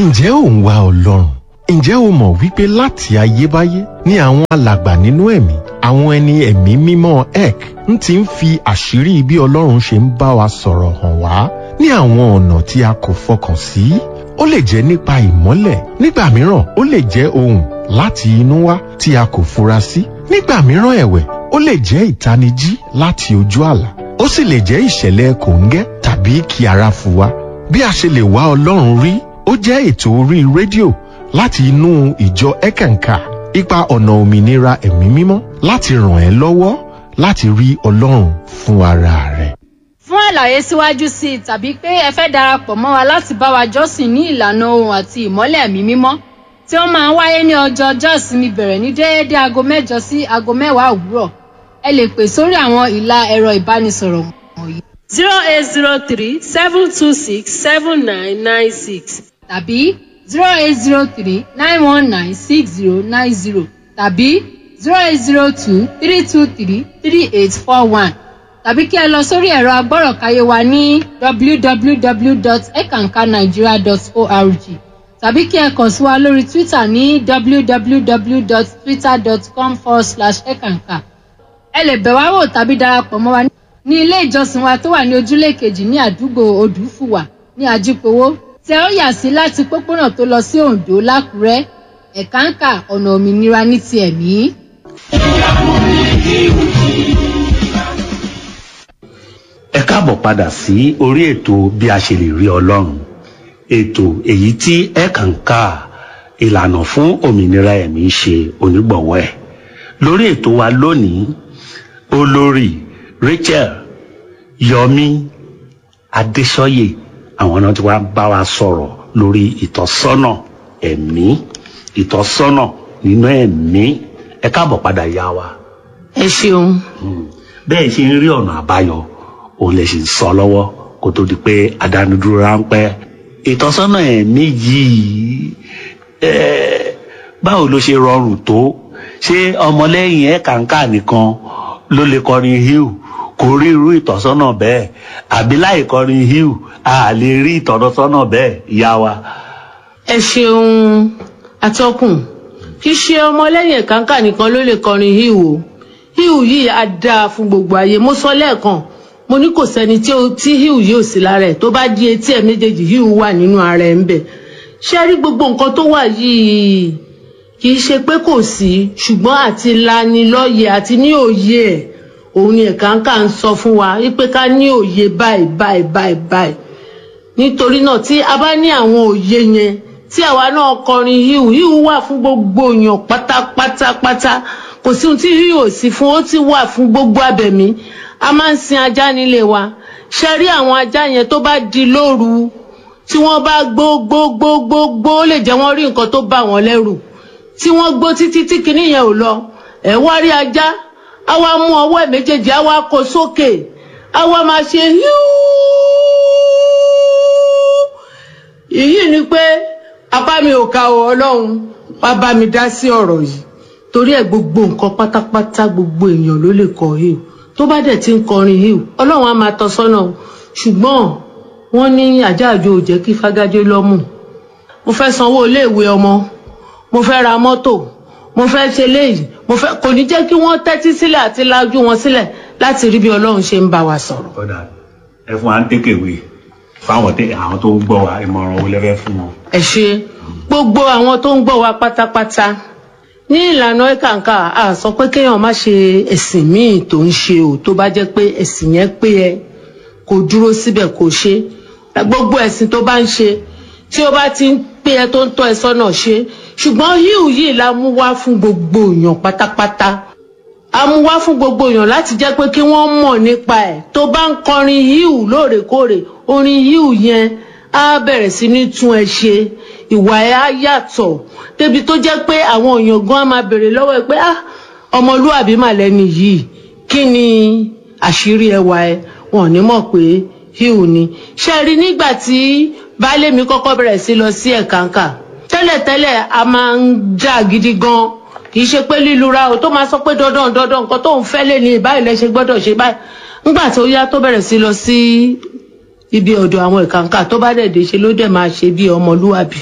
Ǹjẹ́ ò ń wá Ọlọ́run? Ǹjẹ́ o mọ̀ wípé láti ayébáyé ni àwọn alàgbà nínú ẹ̀mí, àwọn ẹni ẹ̀mí mímọ́ ek ń ti ń fi àṣírí bí Ọlọ́run ṣe ń bá wa sọ̀rọ̀ hàn wá ní àwọn ọ̀nà tí a kò fọkàn sí? Ó lè jẹ́ nípa ìmọ́lẹ̀, nígbà mìíràn ó lè jẹ́ ohùn láti inú wá tí a kò fura sí. Nígbà mìíràn ẹ̀wẹ̀, ó lè jẹ́ ìtanijí láti ojú àlá. Ó sì lè jẹ́ ìṣẹ̀lẹ̀ kòńgẹ́ tàbí kí ara fu wa. Bí a ṣe lè wá Ọlọ́run rí, ó jẹ́ ètò orí rédíò láti inú ìjọ Ẹ̀kànkà, ipa ọ̀nà òmìnira ẹ̀mí mímọ́ láti ràn ẹ́ lọ́wọ́ láti rí Ọlọ́run fún ara rẹ̀. Fún àlàyé síwájú sí i tàbí pé ẹ fẹ́ darapọ̀ mọ́ wa láti bá wa jọ́sìn ní ìlànà ohun àti ìmọ́lẹ̀ ẹ̀mí mímọ́ tí ó máa ń wáyé ní ọjọ́ ọjọ́ ìsinmi bẹ̀rẹ̀ ní déédéé aago 8 sí aago 10 òwúrọ̀. Ẹ lè pè sórí àwọn ìlà ẹ̀rọ ìbánisọ̀rọ̀ wọ̀nyí: 0803 726 7996 tàbí 0803 919 6090 tàbí 0802 323 3841 tàbí kí ẹ lọ sórí ẹ̀rọ agbọ́rọ̀káyé wa ní www.ekankanigeria.org tàbí kí ẹ kàn sí wa lórí Twitter ní www.twitter.com/ekanka. Ẹ lè bẹ̀ wá wò tàbí darapọ̀ mọ́ wa ní ilé ìjọsìn wa tó wà ní ojúlé kejì ní àdúgbò Odùfùwà ní Ajípowó tí ẹ ó yà sí láti pópónà tó lọ sí Oǹdó lákùrẹ́. Ẹ̀káǹkà ọ̀nà òmìnira ní ti ẹ̀mí. Ẹ káàbọ̀ padà sí orí ètò bí a ṣe lè rí Ọlọ́run, ètò èyí tí Ẹ̀kànkà ìlànà fún òmìnira ẹ̀mí ṣe onígbọ̀wọ́ ẹ̀. Lórí ètò wa lónìí, olórí Rachel Yomi Adéṣọyè àwọn náà ti wá bá wa sọ̀rọ̀ lórí ìtọ́sọ́nà ẹ̀mí, ìtọ́sọ́nà nínú ẹ̀mí. Ẹ káàbọ̀ padà yá wa. Ẹ ṣeun. Bẹ́ẹ̀ ṣe ń rí ọ̀nà àbáyọ òun lè ṣì ń sọ lọ́wọ́ kó tó di pé àdánudúró ráńpẹ́. Ìtọ́sọ́nà ẹ̀mí yìí, báwo ló ṣe rọrùn tó? Ṣé ọmọlẹ́yìn Ẹ̀kànkà nìkan ló lè kọrin híù kò rí irú ìtọ́sọ́nà bẹ́ẹ̀, àbí láì kọrin híù a lè rí ìtọ́sọ́nà bẹ́ẹ̀, ìyá wa? Ẹ ṣeun atọ́kùn. Kì í ṣe ọmọlẹ́yìn Ẹ̀kànkà nìkan ló lè kọrin híù o. Híù yìí á dáa fún gbogbo ayé. Mo sọ lẹ́ẹ̀kan, mo ní kò sẹ́ni tí híù yìí ò sí lára ẹ̀. Tó bá di etí ẹ̀ méjèèjì, híù wà nínú ara ẹ̀ ń bẹ̀. Ṣé rí gbogbo nǹkan tó wà yìí, kì í ṣe pé kò sí, ṣùgbọ́n àti lanilọ́yẹ̀ àti ní òye ẹ̀ òun ni Ẹ̀kànkà ń sọ fún wa wípé ká ní òye báyìí báyìí báyìí báyìí. Nítorí náà tí a bá ní àwọn òye yẹn, tí àwa náà kọrin híù, híù wà fún gbogbo èèyàn pátápátápátá. Kò sí ohun tí híù ò sí fún, ó ti wà fún gbogbo abẹ̀mí. A máa ń sin ajá nílé wa. Ṣe rí àwọn ajá yẹn, tó bá di lóru tí wọ́n bá gbó gbó gbó gbó gbó, ó lè jẹ́ wọ́n rí nǹkan tó bà wọ́n lẹ́rù tí wọ́n gbó títí tí kinní yẹn ò lọ. Ẹ̀ wá rí ajá, á wá mú ọwọ́ ẹ̀ méjèèjì, á wá kó sókè, á wá máa ṣe híú. Èyí ni pé apá mi ò ka o, Ọlọ́run wá bá mi dá sí ọ̀rọ̀ yìí. Torí ẹ̀ gbogbo nǹkan pátápátá, gbogbo èèyàn ló lè kọ híù. Tó bá dẹ̀ ti ń kọrin híù, Ọlọ́run á máa tọ́ sọ́nà o. Ṣùgbọ́n wọ́n ní àjáàjò ò jẹ́ kí fágájé lọ́mù. Mo fẹ́ sanwó iléèwé ọmọ, mo fẹ́ ra mọ́tò, mo fẹ́ ṣe léyìí, mo fẹ́, kò ní jẹ́ kí wọ́n tẹ́tí sílẹ̀ àti lajú wọn sílẹ̀ láti rí bí Ọlọ́run ṣe ń bá wa sọ̀rọ̀. Ọ̀dà, ẹ fún wa ń tékèwé fáwọn tí àwọn tó ń gbọ́ wa, ìmọ̀ràn wo lẹ fẹ́ fún wọn? Ẹ ṣe gbogbo àwọn tó ń gbọ́ wa pátápátá. Ní ìlànà Ẹ̀kànkà, a sọ pé kéèyàn má ṣe ẹ̀sìn míì tó ń ṣe o. Tó bá jẹ́ pé ẹ̀sìn yẹn pé ẹ kò dúró síbẹ̀ kò ṣe, gbogbo ẹ̀sìn tó bá ń ṣe tí ó bá ti ń pé ẹ tó ń tọ́ ẹ sọ́nà, ṣe. Ṣùgbọ́n híù yìí la mú wá fún gbogbo èèyàn pátápátá. A mú wá fún gbogbo èèyàn láti jẹ́ pé kí wọ́n mọ̀ nípa ẹ̀. Tó bá ń kọrin híù lóòrèkóòrè, orin híù yẹn á bẹ̀rẹ̀ sí ní tún ẹ ṣe, ìwà ẹ á yàtọ̀ débi tó jẹ́ pé àwọn èèyàn gan á máa béèrè lọ́wọ́ ẹ pé, "Ah, ọmọlúàbí mà lẹ́ni yìí, kí ni àṣírí ẹwà ẹ?" Wọn ò ní mọ̀ pé híù ni. Ṣe rí nígbà tí baálé mi kọ́kọ́ bẹ̀rẹ̀ sí lọ sí Ẹ̀kànkà, tẹ́lẹ̀tẹ́lẹ̀ a máa ń jà gidi gan. Kì í ṣe pé lílura o, tó máa sọ pé dandan dandan nǹkan tó ń fẹ́ lé ní báyìí lẹ ṣe gbọ́dọ̀ ṣe báyìí. Ńgbà tó yá tó bẹ̀rẹ̀ sí lọ sí ibi ọ̀dọ̀ àwọn Ẹ̀kànkà, tó bá dẹ̀ dé, ṣe ló dẹ̀ máa ṣe bí ọmọlúwàbí.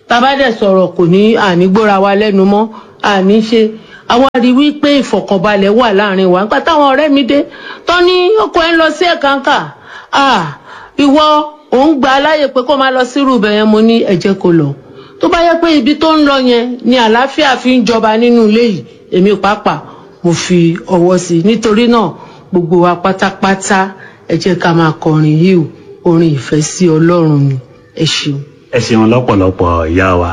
Tá a bá dẹ̀ sọ̀rọ̀ kò ní àní gbóra wa lẹ́nu mọ́, àní ṣe. Àwa rí wípé ìfọ̀kànbalẹ̀ wà láàrin wa. Nígbà táwọn ọ̀rẹ́ mi dé tán ní ọkọ ẹ̀ ń lọ sí Ẹ̀kànkà, ìwọ òun gbà á láàyè pé kó máa lọ sírú ibẹ̀ yẹn. Mo ní ẹ jẹ́ kó lọ. Tó bá yẹ pé ibi tó ń lọ yẹn ni àlàáfíà fi ń jọba nínú ilé yìí, èmi pàápàá mo fi ọwọ́ sí i. Nítorí náà gbogbo wa pátápátá ẹ jẹ́ ká máa kọrin yìí o, orin ìfẹ́ sí Ọlọ́run ni. Ẹ ṣeun. Ẹ ṣeun lọ́pọ̀lọpọ̀ ìyá wa.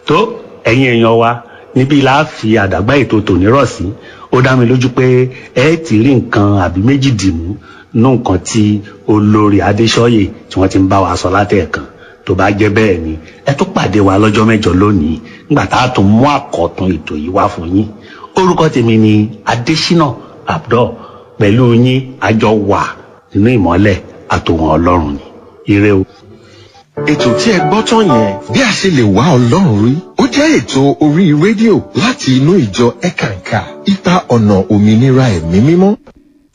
Tó ẹ̀yin èèyàn wa, níbí la fi àdàgbà ètò tòní rọ̀ sí. Ó dá mi lójú pé ẹ ti rí nǹkan àbí méjì dìmú nú nǹkan tí olórí Adéṣọ́yè tí wọ́n ti ń bá wa sọ látẹ̀ẹ̀kan. Tó bá jẹ́ bẹ́ẹ̀ ni, ẹ tó pàdé wa lọ́jọ́ mẹ́jọ lónìí nígbà tá a tún mú àkọ́tún ètò yìí wá fún yín. Orúkọ tèmi ni Adésínà Abdul, pẹ̀lú yín àjọ wà nínú ìmọ́lẹ̀ àtòhun Ọlọ́run ni. Ire o. Ètò tí ẹ gbọ́ tán yẹn, bí a ṣe lè wá Ọlọ́run rí, ó jẹ́ ètò orí rédíò láti inú ìjọ Ẹ̀kànkà, ipa ọ̀nà òmìnira ẹ̀mí mímọ́.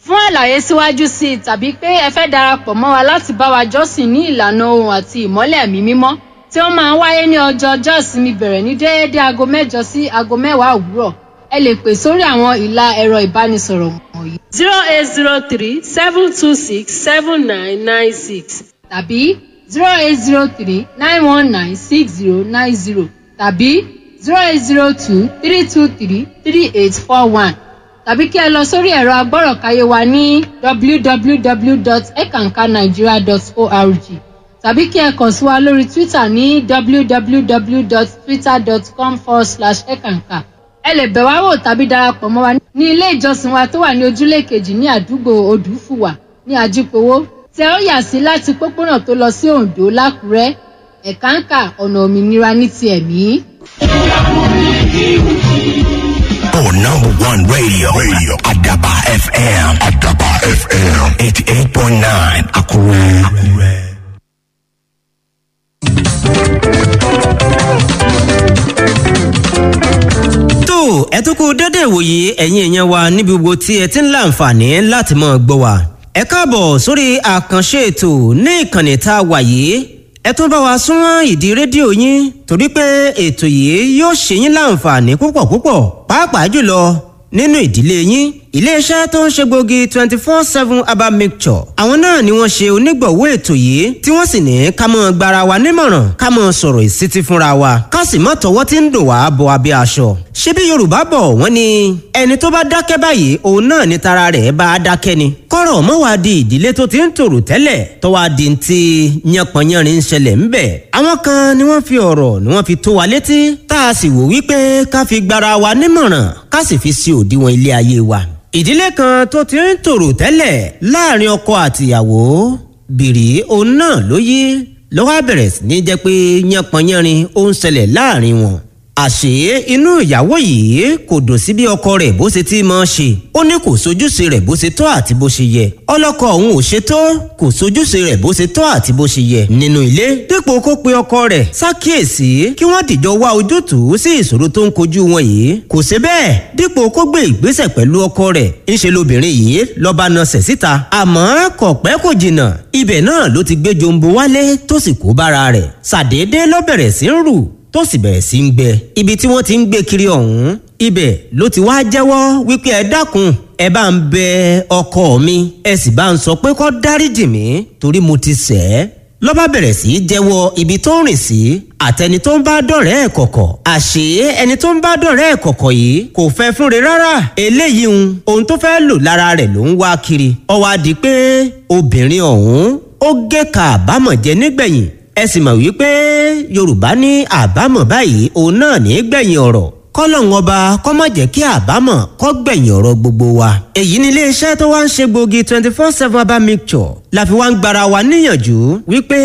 Fún àlàyé síwájú sí i tàbí pé ẹ fẹ́ darapọ̀ mọ́ wa láti bá wa jọ́sìn ní ìlànà ohun àti ìmọ́lẹ̀ ẹ̀mí mímọ́ tí ó máa ń wáyé ní ọjọ́ ọjọ́ ìsinmi bẹ̀rẹ̀ ní déédéé aago 8 sí aago 10 òwúrọ̀, ẹ lè pè sórí àwọn ìlà ẹ̀rọ ìbánisọ̀rọ̀ wọ̀nyí: 08037267996 tàbí 08039196090 tàbí 08023233841 tàbí kí ẹ lọ sórí ẹ̀rọ agbọ́rọ̀káyé wa ní www.ekankanigeria.org tàbí kí ẹ kàn sí wa lórí Twitter ní www.twitter.com/ekanka. Ẹ lè bẹ̀ wá wò tàbí darapọ̀ mọ́ wa ní ilé ìjọsìn wa tó wà ní ojúlé kejì ní àdúgbò Odùfùwà ní Ajípowó, tẹ ó yà sí láti pópónà tó lọ sí Oǹdó lákùrẹ́. Ẹ̀káǹkà, ọ̀nà òmìnira ní ti ẹ̀mí. For number one radio, radio Adaba FM, Adaba FM, 88.9, Akure. Akure. Tó ẹ tún kú dédé ìwòye, ẹ̀yin èèyàn wa níbi gbogbo tí ẹ ti ń láǹfààní láti máa gbọ́ wa. Ẹ káàbọ̀ sórí àkànṣe ètò ní ìkànnì tá a wà yìí. Ẹ tún bá wa súnmọ́ ìdí rédíò yín torí pé ètò yìí yóò ṣe yín láǹfààní púpọ̀ púpọ̀, pàápàá jùlọ nínú ìdílé yín. Iléeṣẹ́ tó ń ṣe gbòógì 24/7 herbal mixture, àwọn náà ni wọ́n ṣe onígbọ̀wọ́ ètò yìí, tí wọ́n sì ní ká mọ́ gbara wa nímọ̀ràn, ká mọ́ sọ̀rọ̀ ìsítí fúnra wa, ká sì mọ́ tọwọ́ tí ń dùn wá bọ abẹ́ aṣọ. Ṣé bí Yorùbá bọ̀, wọ́n ní ẹni tó bá dákẹ́ báyìí, òun náà ni tara rẹ̀ bá a dákẹ́ ni. Kọ́rọ̀ mọ́ wá di ìdílé tó ti ń tòrò tẹ́lẹ̀ tó wá di ti yánpọnyánrin ń ṣẹlẹ̀ ńbẹ̀. Àwọn kan ni wọ́n fi ọ̀rọ̀ ni wọ́n fi tó wa létí, tá a sì wò wípé ká fi gbara wa nímọ̀ràn, ká sì fi sí òdiwọ̀n ilé ayé wa. Ìdílé kan tó ti ń tòrò tẹ́lẹ̀ láàrin ọkọ àtìyàwó, bìrì òun náà ló yí lọ́wọ́, bẹ̀rẹ̀ sí ní jẹ́ pé yánpọnyánrin ó ń ṣẹlẹ̀ láàrin wọn. Àṣé inú ìyàwó yìí kò dùn sí bí ọkọ rẹ̀ bó ṣe ti máa ṣe. Ó ní kò sojúṣe rẹ̀ bó ṣe tọ́ àti bó ṣe yẹ. Ọlọ́kọ òun ò ṣe tó, kò sojúṣe rẹ̀ bó ṣe tọ́ àti bó ṣe yẹ nínú ilé. Dípò kó pe ọkọ rẹ̀ ṣàkíyèsí kí wọ́n dìjọ wá ojútùú sí ìṣòro tó ń kojú wọn yìí, kò ṣe bẹ́ẹ̀. Dípò kó gbé ìgbésẹ̀ pẹ̀lú ọkọ rẹ̀, ńṣe lobìnrin yìí lọ́ba nasẹ̀ síta. Àmọ́ kò pẹ́ kò jìnnà, ibẹ̀ náà ló ti gbé jombo wálé tó sì kó bára rẹ̀. Ṣàdédé ló bẹ̀rẹ̀ sí ń rù, tó sì bẹ̀rẹ̀ sí ń gbẹ. Ibi tí wọ́n ti ń gbé kiri ọ̀hún, ibẹ̀ ló ti wá jẹ́wọ́ wípé ẹ dákun, ẹ bá ń bẹ ọkọ mi, ẹ sì bá ń sọ pé kó dáríjì mí torí mo ti ṣẹ̀ ẹ́. Ló bá bẹ̀rẹ̀ sí í jẹ́wọ́ ibi tó ń rìn sí àtẹni tó ń bá dọ̀rẹ́ ẹ̀ kọ̀kọ̀. Àṣé ẹni tó ń bá dọ̀rẹ́ ẹ̀ kọ̀kọ̀ yìí kò fẹ́ fúnre rárá. Eléyìí ń ohun tó fẹ́ lò lára rẹ̀ ló ń wá kiri. Ó wá di pé obìnrin ọ̀hún ó gé ka àbámọ̀ jẹ nígbẹ̀yìn. Ẹ sì mọ̀ wípé Yorùbá ní àbámọ̀ báyìí òun náà ní gbẹ̀yìn ọ̀rọ̀. Kọ́lọ́hún ọba kó má jẹ́ kí àbámọ̀ kó gbẹ̀yìn ọ̀rọ̀ gbogbo wa. Èyí ni iléeṣẹ́ tó wá ń ṣe gbòógì 24/7 herbal mixture la fi wá ń gbara wa níyànjú wípé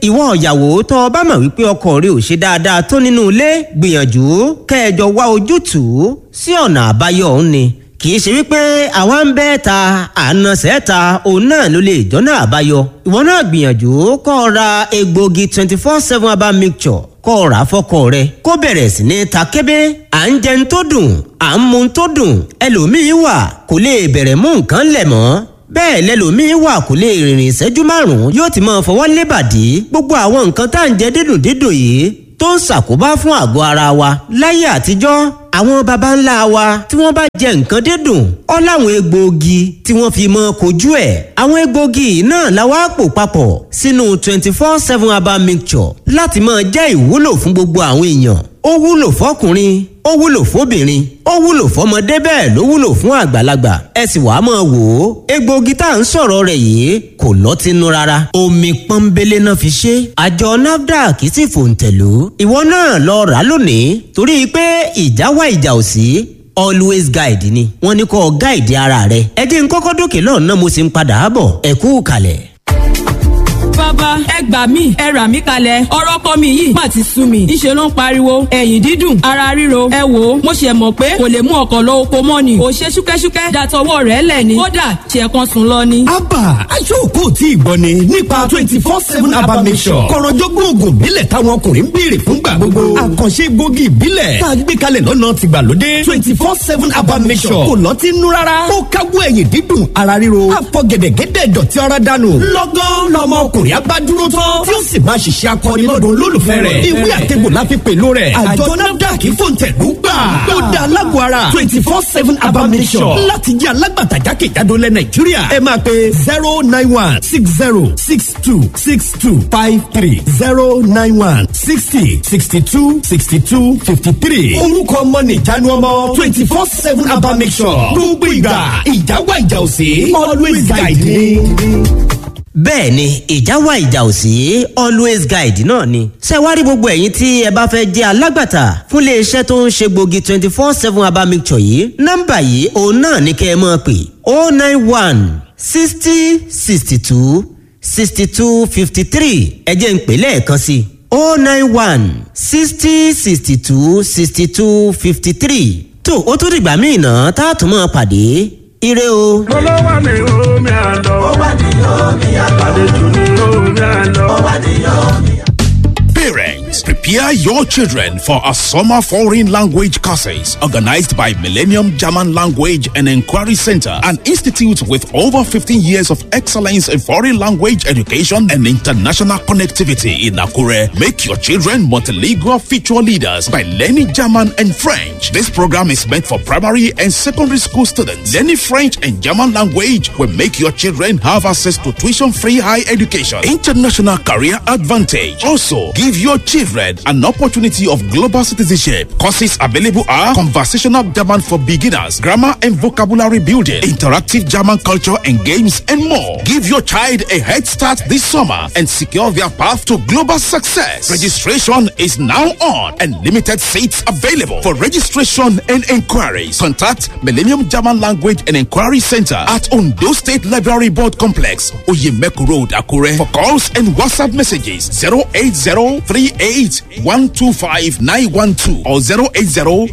ìwọ ìyàwó tó o bá mọ̀ wípé ọkọ rẹ ò ṣe dáadáa tó nínú ilé, gbìyànjú kẹjọ wá ojútùú sí ọ̀nà àbáyọ òun ni. Kì í ṣe wípé àwa ń bẹ́ ta àna sẹ́ta òun náà ló lè jọ́nà àbáyọ. Ìwọ náà gbìyànjú kó o ra egbògi 24/7 herbal mixture, kó o rà á fọ́kọ rẹ kó bẹ̀rẹ̀ sí ní ta kébé. À ń jẹun tó dùn, à ń mu tó dùn, ẹlòmíín wà kò lè bẹ̀rẹ̀ mú nǹkan lẹ̀ mọ́. Bẹ́ẹ̀ lẹlòmíín wà kò lè rìnrìn ìṣẹ́jú 5, yóò ti máa fọwọ́ lébàdí. Gbogbo àwọn nǹkan tá à ń jẹ dídùn dídùn yìí tó ń ṣàkóbá fún àgọ́ ara wa. Láyé àtijọ́, àwọn baba ńlá wa tí wọ́n bá jẹ nǹkan dídùn, ó láwọn egbòogi tí wọ́n fi mọ́ kojú ẹ̀. Àwọn egbòogi náà la wá pò papọ̀ sínú 24/7 herbal mixture láti máa jẹ́ ìwúlò fún gbogbo àwọn èèyàn. Ó wúlò fọkùnrin, ó wúlò fóbìnrin, ó wúlò fọmọdé, bẹ́ẹ̀ ló wúlò fún àgbàlagbà. Ẹ sì wàá máa wò ó, egbòogi tá à ń sọ̀rọ̀ rẹ̀ yìí kò lọ́tínú rárá. Omi pọ́nbélé náà fi ṣe. Àjọ NAFDAC sì fòǹtẹ̀lú. Ìwọ náà lọ rà á lónìí, torí pé ìjà wá ìjà ò sí, always guide ni. Wọ́n ní kó guide ara rẹ̀. Ẹ jẹ́ n kọ́kọ́ dókè lọ́nà, mo sì ń padà bọ̀. Ẹ kú kalẹ̀. Bàbá, ẹ gbà mí, ẹ rà mí kalẹ̀. Ọ̀rọ̀ ọkọ mi yìí má ti sú mi. Ńṣe ló ń pariwo, ẹ̀yìn dídùn, ara ríro. Ẹ wò ó, mo ṣe mọ̀ pé kò lè mú ọkọ̀ lọ oko mọ́ ni. Ò ṣe ṣúkẹ́ṣúkẹ́ dàtọwọ́ rẹ̀ lẹ̀ ni. Kódà ṣe kan sùn lọ ni. Abba aṣọ́kò tí ìgbọ́ ni nípa 24/7 herbal mixture. Kọ̀rọ̀jọ́gbọ́n oògùn ìbílẹ̀ táwọn ọkùnrin ń béèrè fúngbà gbogbo. Àkànṣe egbògi ìbílẹ̀ tá a gbé kalẹ̀ lọ́nà tìgbàlódé. 24/7 herbal mixture kò lọ́tí nú rárá. Ó káwọ́ ẹ̀yìn dídùn, ara ríro. Àfọ̀gẹ̀dẹ̀gẹ̀dẹ̀ dọ̀tí ara dànù. Lọ́gán lọmọ ọkùnrin abá dúró tán tí ó sì máa ṣiṣẹ́ akọni lọ́dọ̀ olólùfẹ́ rẹ̀. Ìwé àtẹ̀gbò la fi pèlò rẹ̀. Àjọ NAFDAC fòǹtẹ̀lú gbà. Ó da alágọ̀ ara 24/7 herbal mixture láti jẹ́ alágbàtà jákèjádò lẹ̀ Nàìjíríà. Ẹ máa pe 09160626253, 09160626253. Orúkọ ọmọ nìjánu ọmọ 24/7 herbal mixture. Gbogbo ìgbà ìjà wà, ìjà òsè, always guide me. Bẹ́ẹ̀ ni, ìjà wà, ìjà ò sí, always guide náà ni. Ṣé wàá rí gbogbo ẹ̀yin tí ẹ bá fẹ́ jẹ́ alágbàtà fún iléeṣẹ́ tó ń ṣe gbòógì 24/7 herbal mixture yìí, nọ́mbà yìí òun náà ni kẹ́ ẹ máa pè: 091 60 62 62 53. Ẹ jẹ́ n pè lẹ́ẹ̀kan sí i: 091 60 62 62 53. Tó o tún dìgbà míì náà tá a tún máa pàdé. Ire o. Mo ló wà ní omi àlọ́. Ó wà ní omi àlọ́. Àlejò ní omi àlọ́. Ó wà ní omi àlọ́. Parents, prepare your children for a summer foreign language courses organized by Millennium German Language and Inquiry Center, an institute with over 15 years of excellence in foreign language education and international connectivity in Akure. Make your children multilingual future leaders by learning German and French. This program is meant for primary and secondary school students. Learning French and German language will make your children have access to tuition-free high education, international career advantage. Also, give your children an opportunity of global citizenship. Courses available are conversational German for beginners, grammar and vocabulary building, interactive German culture and games, and more. Give your child a head start this summer and secure their path to global success. Registration is now on and limited seats available. For registration and inquiries, contact Millennium German Language and Inquiry Center at Ondo State Library Board Complex, Oyemeku Road, Akure. For calls and WhatsApp messages, 080 38125912 or 080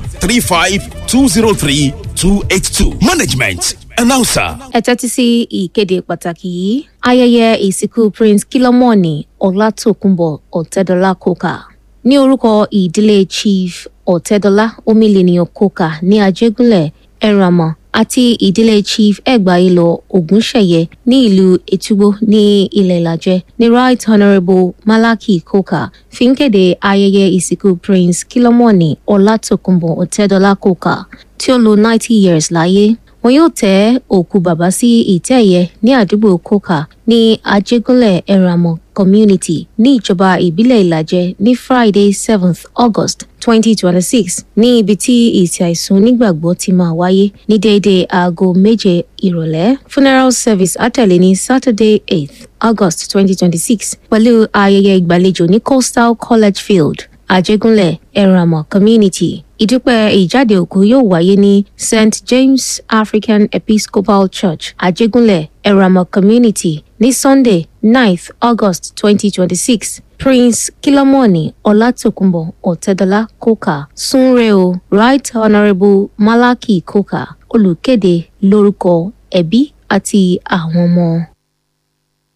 35203282. Management announcer. Ẹ tẹ́tí sí ìkéde pàtàkì yìí. Ayẹyẹ ìsìnkú Prince Kilomoni Ọlátòkùnbọ̀ Ọ̀tẹ́dọ́lá Coker ní orúkọ ìdílé Chief Ọ̀tẹ́dọ́lá Omileniyan Coker ní Ajégúnlẹ̀ Ẹ̀rànmọ́ àti ìdílé Chief Ẹgbàáyélọ Ògúnṣẹ̀yẹ ní ìlú Ètúgbó ní ilẹ̀ Ìlàjẹ ní Right Honourable Malaki Coker fi ń kéde ayẹyẹ ìsìnkú Prince Kilomoni Ọlátòkùnbọ̀ Ọ̀tẹ́dọ́lá Coker tí ó lò 90 years láyé. Wọn yóò tẹ́ òkú bàbá sí ìtẹ́ ẹ̀yẹ ní àdúgbò Coker ní Ajégúnlẹ̀ Ẹ̀rànmọ́ Community ní ìjọba ìbílẹ̀ Ìlàjẹ ní Friday, 7th August 2026, ní ibi tí ìsìn àìsùn onígbàgbọ́ ti máa wáyé ní déédéé aago 7 ìrọ̀lẹ́. Funeral service á tẹ̀lé ní Saturday, 8th August 2026, pẹ̀lú ayẹyẹ ìgbàlejò ní Coastal College Field, Ajégúnlẹ̀ Ẹ̀rànmọ́ Community. Ìdúpẹ́ ìjáde òkú yóò wáyé ní St James African Episcopal Church, Ajégúnlẹ̀ Ẹ̀rànmọ́ Community ní Sunday, 9th August 2026. Prince Kilomoni Ọlátòkùnbọ̀ Ọ̀tẹ́dọ́lá Coker, súnre o. Right Honourable Malaki Coker, olùkéde lórúkọ ẹbí àti àwọn ọmọ.